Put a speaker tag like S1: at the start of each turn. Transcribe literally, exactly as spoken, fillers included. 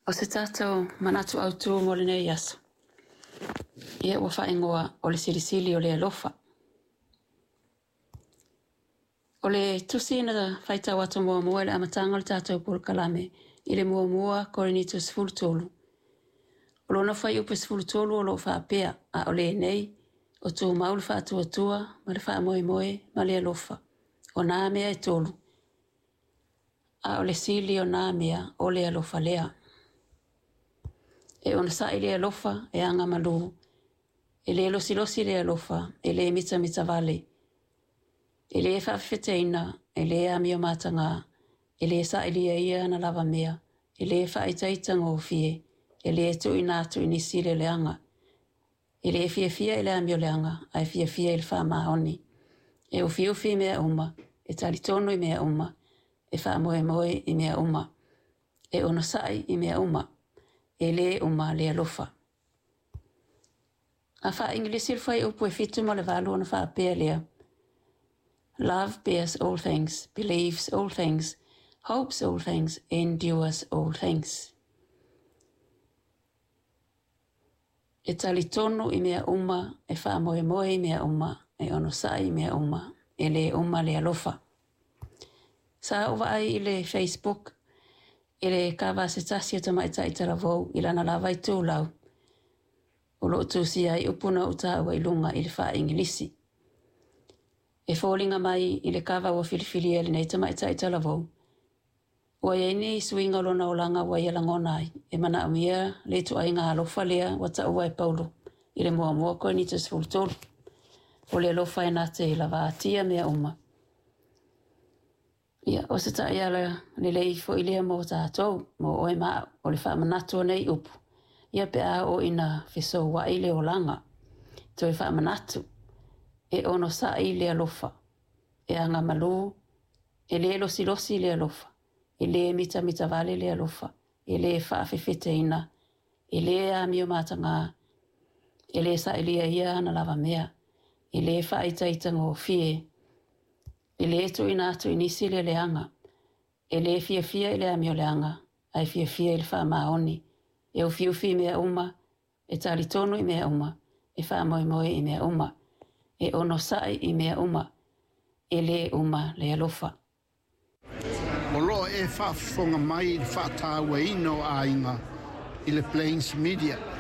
S1: O se tatou manatu autū mo lenei aso, ia ua faaigoa o le silisili o le alofa. O le tusi na faitau atu muamua i le amataga o le tatou polokalame i le muamua Korinito sefulu tolu. O lona fuaiupu e sefulu tolu o lo o faapea, a o lenei, o tumau le faatuatua ma le faamoemoe ma le alofa. O nā mea e tolu, a o le sili o nā mea o le alofa lea. E onosai le alofa e agamalu, e le losilosi le alofa, e le mitamitavale, e le faafefeteina, e le amio mataga, e le sailia ia ana lava mea, e le faaitaitagofie, e le tuuina atu i nisi le leaga, e le fiafia i le amioleaga, ae fiafia i le faamaoni. E ufiufi i mea uma, e talitonu i mea uma, e faamoemoe i mea uma, e onosai i mea uma, e le uma le alofa. A faa-Igilisi le fuaiupu e fitu ma le valu ona faapea lea, Love bears all things, believes all things, hopes all things, endures all things. E talitonu i mea uma, e faamoemoe i mea uma, e onosai i mea uma, e le uma le alofa. Sa ou vaai i le Facebook i le kava a se tasi o tamaitai talavou i lana lava itulau o lo o tusia ai upu na ou taua i luga i le faa-Igilisi. E foliga mai i le kava ua filifilia e lenei tamaitai talavou, ua i ai ni suiga o lona olaga ua ia lagona ai, e manaomia le ituaiga alofa lea ua taua e Paulo i le muamua Korinito sefulu tolu. O le alofa e na te lavaatia mea uma. Ia, o se taiala lelei foi lea mo tatou, mo oe ma au, o le faamanatu o nei upu, ia pe a oo ina fesoua'i le olaga. Toe faamanatu, e onosai le alofa, e agamalu, e le losilosi le alofa, e le mitamitavale le alofa, e le faafefeteina, e le amio mataga, e le sailia ia ana lava mea, e le faaitaitagofie, e le tuuina atu i nisi le leaga, e le fiafia i le amioleaga, ae fiafia i le faamaoni, e ufiufi i mea uma, e talitonu i mea uma, e faamoemoe i mea uma, e onosai i mea uma, e le uma le alofa.
S2: O lo o e faafofoga mai i le faatauaina o aiga i le Plains Media.